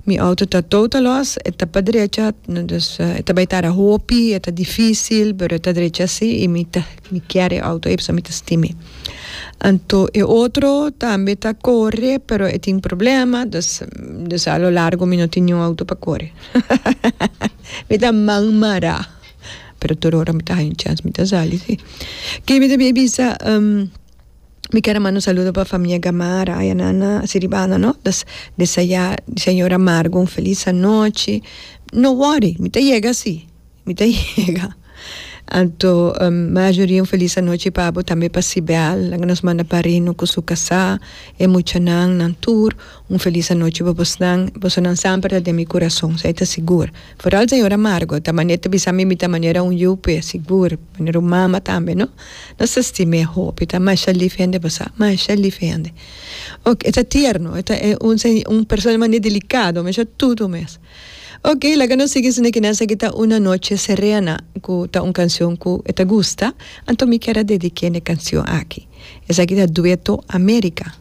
Mi auto ta total loss, e ta pa drecha, dus e ta bai tara hopi, e ta dificil, pero e ta drecha si y mi ta mi kier e auto ey pasobra mi ta stim'e. Anto e otro tambe ta core, pero e tin problema, dus dus a lo largo mi no tin niun auto pa core. Mi ta man mara, pero tur ora mi ta haña un chance mi ta sali si. Ke mi ta bin bisa? Mi kier a manda un saludo pa famia Gamara aya na na Siribana no des desea señora Margo un feliz anochi no worry mi ta yega si mi ta yega anto Marjorie un feliz anochi pa bo tambe pa Sibel laga nos manda pa Rino cu su casa e muchanan nan tur un feliz anochi pa bosnan bosonan semper ta den mi curason esey ta sigur Vooral señora Margo ta manera ta bisa mi mi ta manera un yu p'e sigur manera un mama tambe no nos ta stim'é hopi ta masha lif hende bo sa masha lif hende ok e ta tierno e ta un un persona manera delicado masha tudu mes ok laga nos sigui esaki kinan esaki ta una noche serena ku ta un cancion ku e ta gusta anto mi kier a dediké n'e cancion aki esaki ta dueto America.